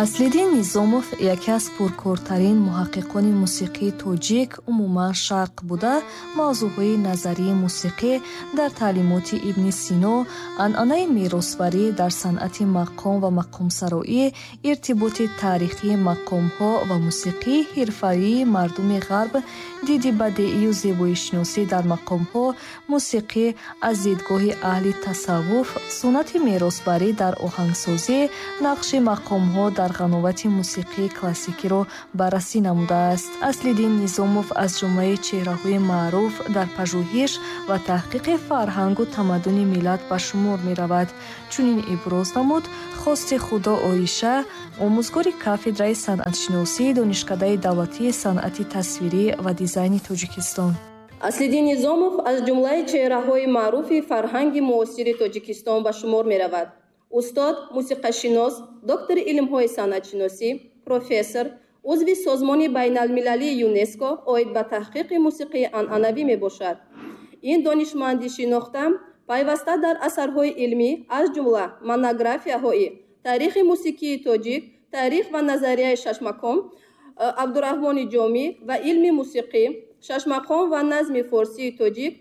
Аслиддин Низомов яке аз пуркортарин муҳаққиқони мусиқии тоҷик, умуман шарқ буда, мавзӯъҳои назарии мусиқӣ дар таълимоти Ибни Сино, анъанаи меросбарӣ дар санъати мақом ва мақомсароӣ, иртиботи таърихии мақомҳо ва мусиқии ҳирфавии мардуми ғарб, диди бадеию зебоишиносӣ дар мақомҳо, мусиқӣ аз дидгоҳи аҳли тасаввуф, суннати меросбарӣ дар оҳангсозӣ, нақши мақомҳо дар ғановати мусиқии классикиро баррасӣ намудааст. Аслиддин Низомов аз ҷумлаи чеҳраҳои маъруф дар пажӯҳиш ва таҳқиқи фарҳангу тамаддуни миллат ба шумор меравад. Чунин иброз намуд Хости Худо Оиша, омӯзгори кафедраи санъатшиносии Донишкадаи давлатии санъати тасвирӣ ва дизайни Тоҷикистон. Аслиддин Низомов аз ҷумлаи чеҳраҳои маъруфи фарҳанги муосири Тоҷикистон ба шумор меравад. Устод, мусиқашинос, доктори илмҳои санъатшиносӣ, профессор, узви созмони байналмилалии ЮНЕСКО оид ба таҳқиқи мусиқии анъанавӣ мебошад. Ин донишманди шинохта пайваста дар асарҳои илмӣ, аз ҷумла монографияҳои таърихи мусиқии тоҷик, таърих ва назарияи шашмақом, Абдураҳмони Ҷомӣ ва илми мусиқӣ, шашмақом ва назми форсии тоҷик,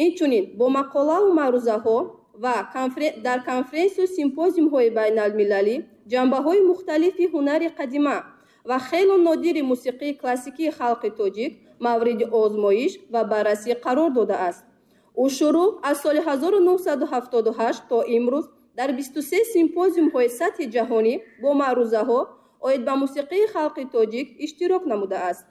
инчунин бо мақолаву маърузаҳо ва дар конференсию симпозиумҳои байналмилалӣ ҷанбаҳои мухталифи ҳунари қадима ва хело нодири мусиқии классикии халқи тоҷик мавриди озмоиш ва баррасӣ қарор додааст. Ӯ шурӯъ аз соли 1978 то имрӯз дар 23 симпозиумҳои сатҳи ҷаҳонӣ бо маърузаҳо оид ба мусиқии халқи тоҷик иштирок намудааст.